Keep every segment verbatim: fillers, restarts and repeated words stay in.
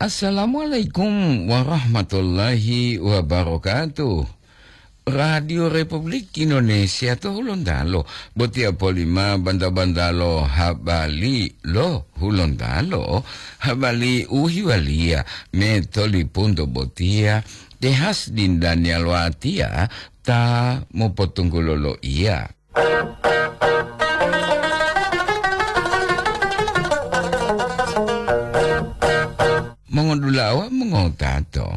Assalamualaikum warahmatullahi wabarakatuh. Radio Republik Indonesia to Hulontalo, botiya polima banta-bantalo habali lo Hulontalo, habali u hiwaliya me tolipunto botiya, tehas dindaniya lo atiya ta mopotunggulo lo iya. Mongodulawa mongotato,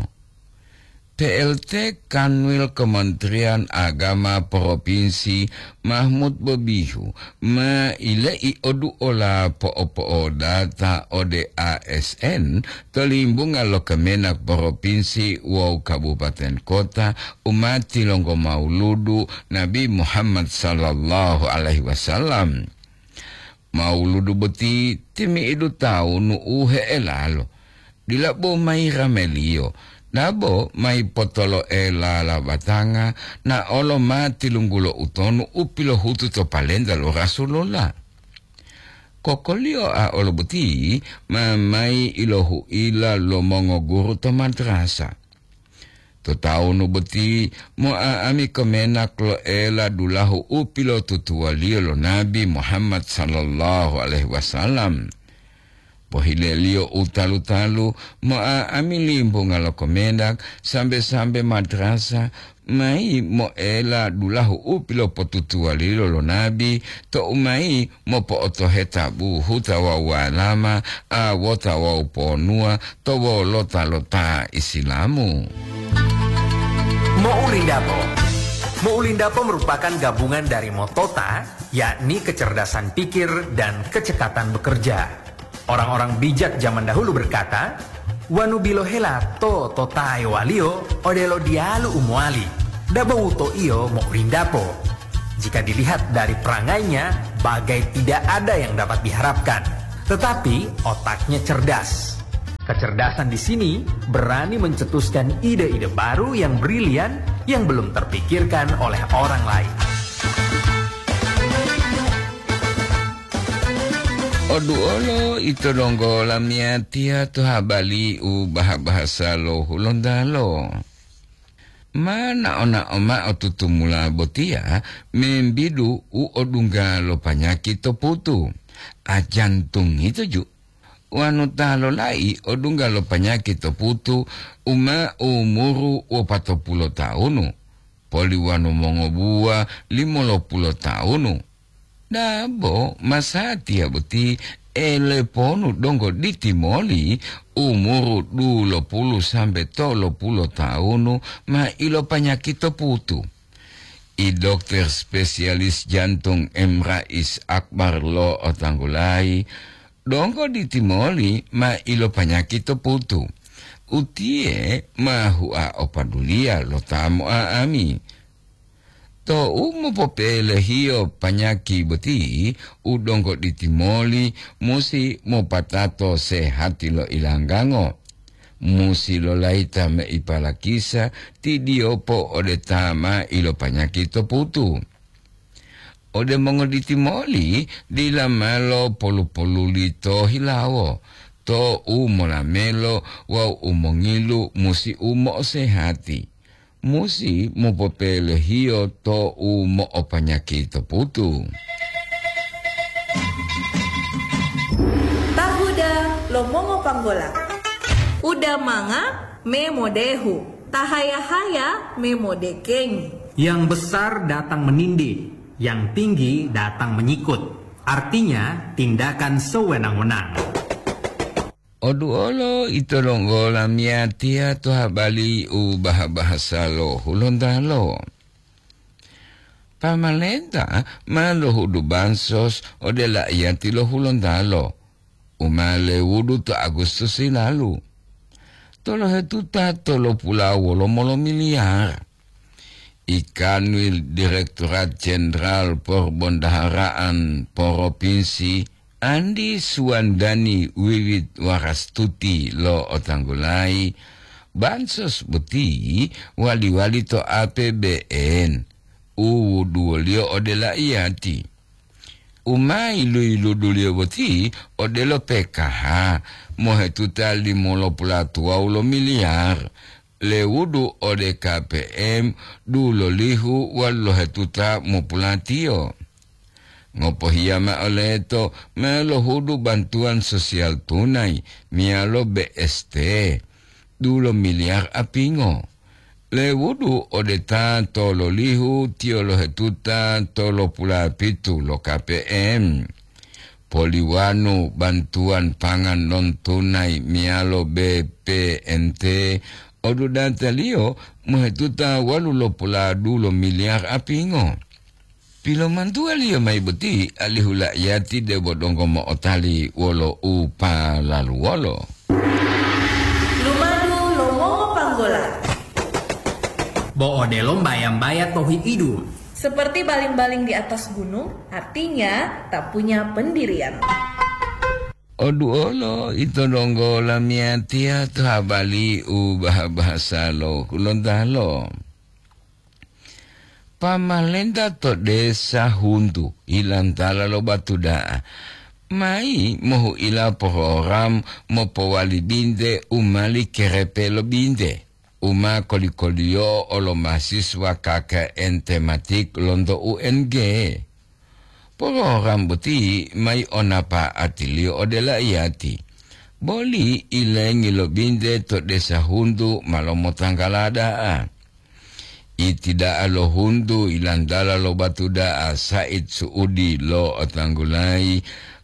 P L T Kanwil Kementerian Agama Provinsi Mahmud Bobihu ma ilei oduola po'opo'odata ode A S N to limbunga lo Kemenak Provinsi wawu Kabupaten Kota u ma tilonggo mauludu Nabi Muhammad sallallahu alaihi wasallam. Mauludu boti timi'idu tawunu u he'elalo, dila bo mayi rameliyo, dabo mayi potolo'ela labatanga, na'olo ma tilunggulo utonu u pilohutu to palenta lo Rasulullah. Kokoliyo a olo boti ma mayi ilohu'ila lo mongoguru to madrasa. To tawunu boti, mo'a'ami Kemenak lo'ela dulahu u pilotutuwaliyo lo Nabi Muhammad sallallahu alaihi wasallam. Pohileliyo u talu-talu, mo'a'ami limbunga lo Kemenak sambe-sambe madrasa mayi mo'ela dulahu u pilopotutuwaliyo lo Nabi, to'u mayi mopo'otoheta buhuta wawu walama, awota wawu ponuwa to wolota lo ta Isilamu. Mo'ulindapo. Mo'ulindapo merupakan gabungan dari motota, yakni kecerdasan pikir dan kecekatan bekerja. Orang-orang bijak zaman dahulu berkata, "Wanu bilohela to totaewaliyo odelo diyalu u mowali, dabo wutoiyo mo'ulindapo." Jika dilihat dari perangainya, bagai tidak ada yang dapat diharapkan. Tetapi otaknya cerdas. Kecerdasan di sini berani mencetuskan ide-ide baru yang brilian yang belum terpikirkan oleh orang lain. Oduolo ito donggo lamiyatiya to habali u baha-bahasa lo Hulontalo. Ma nao-nao mao tutumula botiya membidu u odungga lo panyaki to putu, a jantung yito ju. Wanu ta lolai odungga lo panyaki to putu u ma umuru wopatopulo taunu, poli wanu mongobuwa limolopulo taunu. Dabo masatiya boti eleponu donggo ditimoli umuru dulopulu sambe tolopulu taunu ma ilopanyaki to putu. I dokter spesialis jantung M Rais Akbar lo otanggulayi, donggo ditimoli ma ilopanyaki to putu. Utiye ma hua opaduliya lo ta mo'a'ami. Tou mopopelehiyo panyaki boti, u donggo ditimoli musi mopatato sehati lo ilanggango. Musi lolayita mei palakisa tidiyopo ode ta ma ilopanyaki to putu. Ode mongoditimoli dila malo polu-poluli to hilawo, to u molamelo wawu u mongilu musi u mo'osehati. Musi mopopelehiyo to u mo'opanyaki to putu. Tahuda lo mongopanggola. Uda manga me modehu, tahaya-haya me modekengi. Yang besar datang menindih, yang tinggi datang menyikut. Artinya, tindakan sewenang-wenang. Oduolo ito donggo lamiyatiya to habali u baha-bahasa lo Hulontalo. Pamalenta ma lohudu bansos ode la'iyati lo Hulontalo, u ma lewudu to Agustus hilalu. Tolohetuta tolopula wolomo lo miliyar. I Kanwil Direktorat Jenderal Porbondaharaan Poropinsi Andi Suwandani Wiwit Warastuti lo otanggulayi, bansos boti wali-wali to A P B N u wuduwoliyo ode la'iyati. U ma yilu-yiluduliyo boti odelo P K H, mohetuta limolopulatuwawu lo miliyar, lewudu ode K P M dulolihu walu lohetuta mopulatiyo. Ngopohiya ma'o leto ma lohudu bantuwan sosial tunai meyalo B S T, dulo miliyar apingo. Lewudu ode ta tololihu tiyo lohetuta tolopulapitu lo K P M. Poliwanu bantuwan pangan non tunai meyalo B P N T, odudataliyo mohetuta walu lopuladu lo miliyar apingo. Pilomantuwaliyo mayi boti alihu la'iyati debo donggo mo'otali wolo u palaluwolo. Lumadu lo mongopanggola. Bo odelo mbaya-mbaya to hi'idu. Seperti baling-baling di atas gunung, artinya tak punya pendirian. Oduolo ito donggo lamiyatiya to habali u baha-bahasa lo Hulontalo. Pamalenta to desa Huntu, hilantala lo Batuda'a, mayi mohu'ila program mopowali binte u mali kerepe lo binte, u ma koli-koliyo'o lo mahasiswa K K N tematik lonto U N G. Program boti mayi o napa'atiliyo ode la'iyati, boli ilengi lo binte to desa Huntu ma lomotanggala da'a. Iti da'a lo Huntu ilantala lo Batuda'a Said Suudi lo'otanggulayi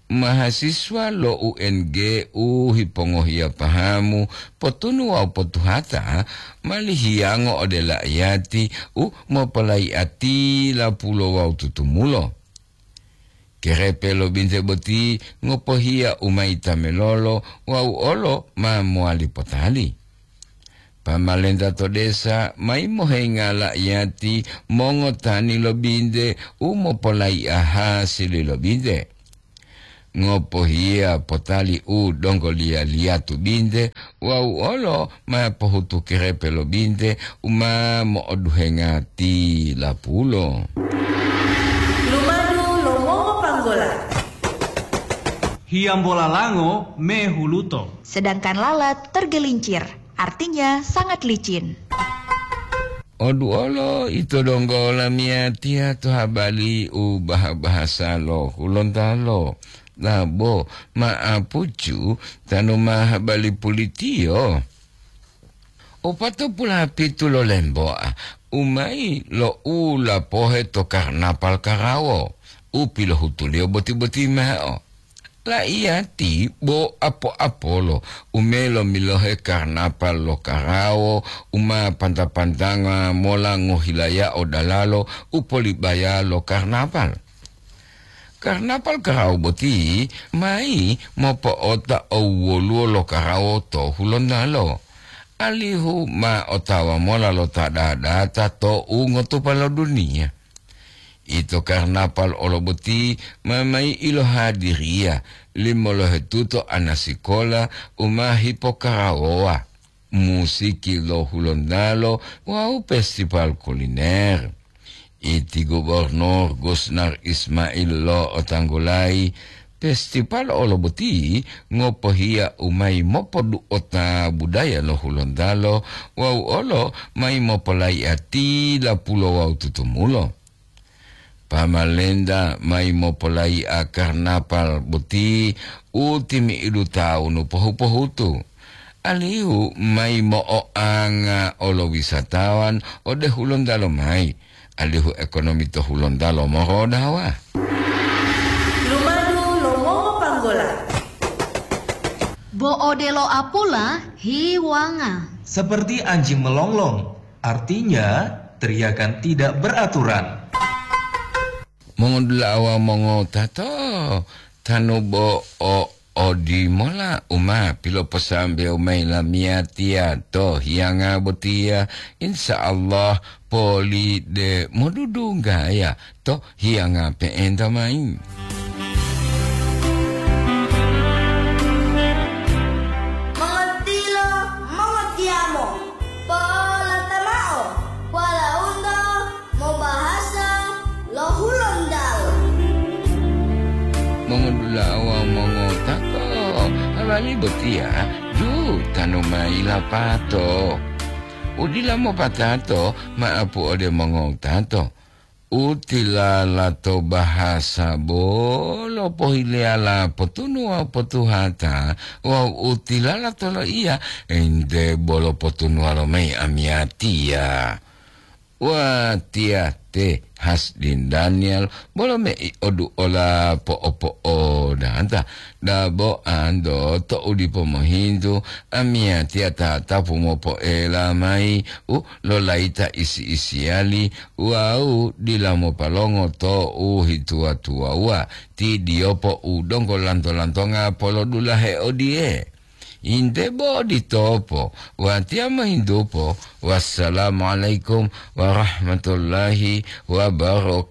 mahasiswa lo U N G u hipongohiya pahamu, potunu wawu potuhata, mali hiyango ode la'iyati u mopolayi'ati lapulo wawu tutumulo. Kerepe lo binte boti ngopohiya u ma yitamelolo wawu olo ma mowali potali. Pamalenta to desa mayi mohenga la'iyati mongotani lo binte u mopolayi'a hasili lo binte. Ngopohiya potali u donggoliya-liyatu binte wawu olo ma pohutu kerepe lo binte u ma mo'oduhenga tilapulo. Lumadu lo mongopanggola. Hiyambola lango mehuluto. Sedangkan lalat tergelincir, artinya sangat licin. Oduolo ito donggo lamiyatiya to habali u baha-bahasa lo Hulontalo. Labo ma'apucu tanu ma habali pulitiyo. Opatopulapitu lo lemboa, u mayi lo u lapohe to karnapal karawo, u pilohutuliyo boti-boti mao. La'iyati bo apo-apolo u melo milohe karnapal lo karawo u ma panta-pantanga mola ngohilayao dalalo u polibaya lo karnapal. Karnapal karawo boti mayi mopo'ota owoluwo lo karawo to Hulontalo, alihu ma otawa mola lo ta dadata to ungotupa lo duniya. Ito karnapal olo boti ma mayi ilohadiriya limolohetuto anasikola u ma hipokarawowa, musiki lo Hulontalo wawu festival kuliner. Iti Gubernur Gusnar Ismail lo'otanggulayi, festival olo boti ngopohiya u mayi mopodu'ota budaya lo Hulontalo wawu olo mayi mopolayi'a tilapulo wawu tutumulo. Pamalenta mayi mopolayi'a karnapal boti u timi'idu tawunu pohu-pohutu, alihu mayi mo'oanga olo wisatawan ode Hulontalo mayi, alihu ekonomi to Hulontalo morodawa. Lumadu lo mongopanggola. Bo odelo apula hiwanga. Seperti anjing melonglong, artinya teriakan tidak beraturan. Mongodula'a wawu mongotato, tanu bo o odimola u ma piloposambewo mayi lamiyatiya to hiyanga botiya, insya Allah poli de modudunggaya to hiyanga pe'enta mayi. Mongotilo, mongotiyamo, polata mao, walaundo mobahasa lo Hulontalo. Ami botiya jutanu mayi lapato. Udila mopatato ma'apu ode mongowutato. Utilala to bahasa bolo pohileyala potunu wawu potuhata, wawu utilala to loiya ente bolo potunuwalo mayi amiyatiya. Watiya te Hasdin Daniel bolo mei oduola po'opo'odata. Dabo ando to'u dipo mohintu, amiyatiya tatapu mopoela mayi u lolayita isi-isiyali wawu dila mopalongo to u hituwa-tuwawuwa ti diyopo u donggo lanto-lantonga polodulahe odiye. Inte bo oditopo, watiya mohintupo, "Wassalamualaikum warahmatullahi wabarakatuh."